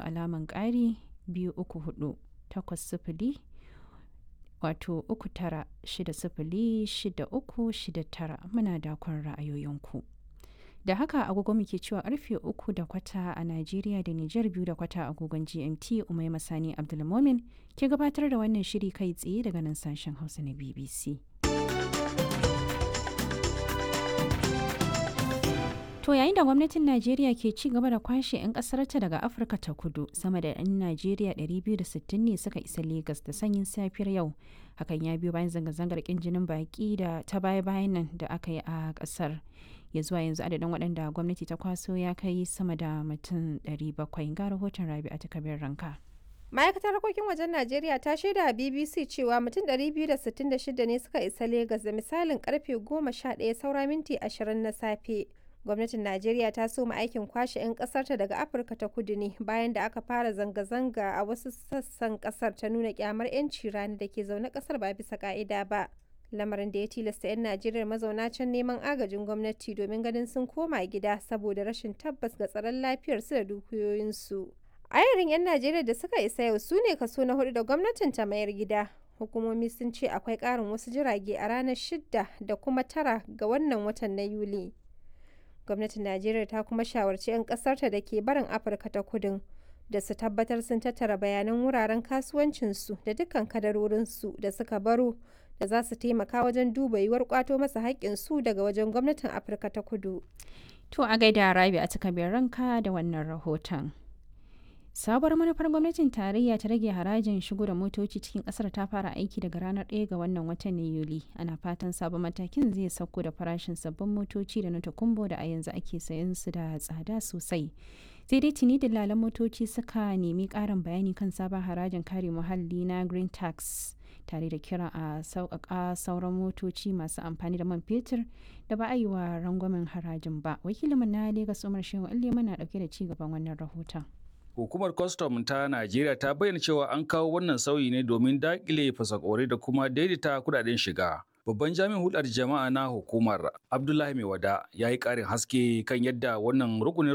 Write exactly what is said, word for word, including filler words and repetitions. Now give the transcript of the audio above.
alaman ƙari biyu uku hudu takwas sifili wato uku tara shida sifili shida uku shida tara muna dakon ra'ayoyinku. Da haka agogo muke cewa karfe uku da kwata a Najeriya da Nijar biyu da kwata agogon G M T Umai Masani Abdulmomin ke gabatar da wannan shiri kai tsaye daga nan sashen Hausa na B B C. To yayin da gwamnatin Najeriya ke ci gaba da kwashe 'yan ƙasarta daga Afirka ta Kudu, sama da 'yan Najeriya ɗari biyu da sittin ne suka isa Legas da sanyin safiyar yau. Hakan ya biyo bayan zanga-zangar ƙin jinin baƙi da ta baya-bayan nan da aka yi a ƙasar. Ya zuwa yanzu adadin waɗanda gwamnati ta kwaso ya kai sama da mutum ɗari bakwai. Ga rahoton Rabi'a ta Kabir Ranka. Ma'aikatar harkokin wajen Najeriya ta shaida a B B C cewa mutum ɗari biyu da sittin da shida ne suka isa Legas da misalin karfe goma sha ɗaya saura minti ashirin na safe. Gwamnatin Najeriya ta soma aikin kwashe 'yan kasarta daga Afirka ta Kudu ne bayan da aka fara zanga-zanga a wasu sassan kasar ta nuna kyamar 'yanci rani da ke zaune kasar ba bisa ka'ida ba. Lamarin da ya tilasta 'yan Najeriya mazauna can neman agajin gwamnati domin ganin sun koma gida saboda rashin tabbas ga tsaron lafiyarsu da dukiyoyinsu. Ayarin 'yan Najeriya da suka isa yau su ne kaso na hudu da gwamnatin ta mayar gida. Hukumomi sun ce akwai ƙarin wasu jirage a ranar shida da kuma tara ga wannan watan na Yuli. Gwamnatin Najeriya ta kuma shawarci 'yan ƙasarta da ke barin Afirka ta Kudun da su tabbatar sun tattara bayanan wuraren kasuwancinsu da dukkan kadarorinsu da suka baro da za su taimaka wajen duba yiwuwar kwato masa haƙƙinsu daga wajen gwamnatin Afirka ta Kudu. To a gaida Rabi a takabiyar ranka da wannan rahoton. Sabuwar manufar gwamnatin tarayya ta rage harajin shigo da motoci cikin kasar ta fara aiki daga ranar ɗaya ga wannan watan na Yuli. Ana fatan sabon matakin zai sauko da farashin sabbin motoci da na takumbo da a yanzu ake sayan su da tsada sosai. Sai dai tuni dillalan motoci suka nemi ƙarin bayani kan sabon harajin kare muhalli na Green Tax, tare da kira a sauƙaƙa sauran motoci masu amfani da man fetur da ba a yi wa rangwamen harajin ba. Wakilinmu na Legas Umar Shehu Ilema na ɗauke da ci gaban wannan rahoton. Hukumar kwastam ta Najeriya ta bayyana cewa an kawo wannan sauyi ne domin daƙile fasakori da kuma daidaita kudaden shiga. Babban jami'in hulɗar jama'a na hukumar, Abdullahi Maiwada, ya yi ƙarin haske kan yadda wannan rukunin